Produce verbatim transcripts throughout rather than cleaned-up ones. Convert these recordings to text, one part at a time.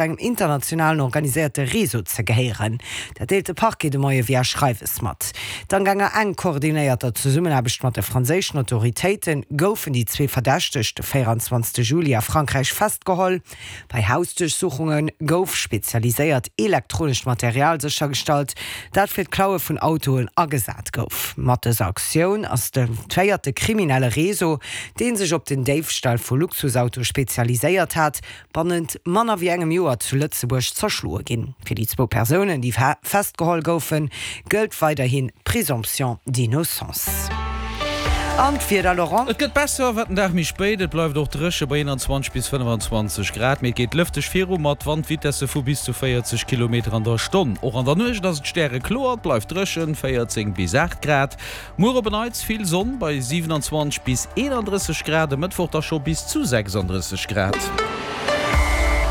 Engem internationalen organiséierte Réseau ze gehéieren. Dat deelt de Parquet de Moie via Schreiwes mat. Dank enger enk koordinéierter Zesummenaarbecht mat de franséischen Autoritéite goufen déi zwee Verdächteg de véierundzwanzegste Juli a Frankräich festgeholl. Bei Hausduerchsuchunge gouf spezialiséiert elektronescht Material séchergestallt, dat fir d'Klaue vun Autoen agesat gouf. Mat dëser Aktioun ass de véierte kriminelle Réseau, dee sech op den Déifstall vu Luxusautoe spezialiséiert hat, bannent manner wéi engem Joer zu Lëtzebuerg zerschloe ginn. Fir déi zwou Persounen, déi festgeholl goufen, gëllt weiderhin d'Présomption d'innocence. An d'Wieder, Laurent? Et gëtt besser, wat den Dag méi spéit. Et bleift och dréche bei eenanzwanzeg bis fënnfanzwanzeg Grad, mee et geet lëfteg viru mat Wandvitesse vu bis zu véierzeg Kilometer an der Stonn. Och an der Nuecht ass et stärekloer, et bleift dréchen, véierzéng bis aacht Grad. Muer op en Neits vill Sonn bei siwenanzwanzeg bis eenandrësseg Grad, e Mëttwoch da scho bis zu sechsandrësseg Grad.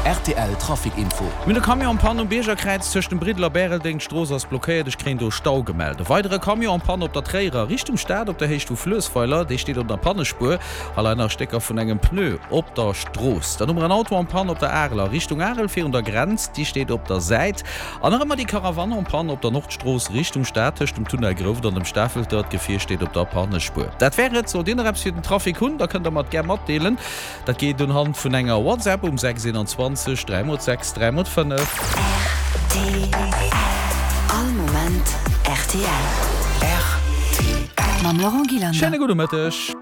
Rtl Trafic Info. Mir hunn e Camion en panne um Biergerkräiz tëscht dem Briddel a Bäreldeng. D'Strooss ass blockéiert, ech kréien do Stau gemellt. E weidere Camion en panne op der Tréierer Richtung Stad op der Héicht vu Fluessweiler. Dee steet op der Pannespuer a leien nach Stécker vun engem Pneu op der Strooss. Dann hu mer en Auto en panne op der Areler Richtung Arel virun der Grenz. Déi steet op der Säit. An nach ëmmer déi Caravane en panne op der Nordstrooss Richtung Stad tëscht dem Tunnel Grouft an dem Stafelter. D'Gefier steet op der Pannespuer. Dat wär et. Sollt Dir nach eppes fir den Trafic hunn, da kënnt der mer et gär matdeelen. Dat geet unhand vun enger WhatsApp um sechs eenanzwanzeg dräi mol sechs dräi mol fënnef. Rtl, All Moment rtl. Rtl. Mam Laurent Gillander. Schéine gudde Mëtteg.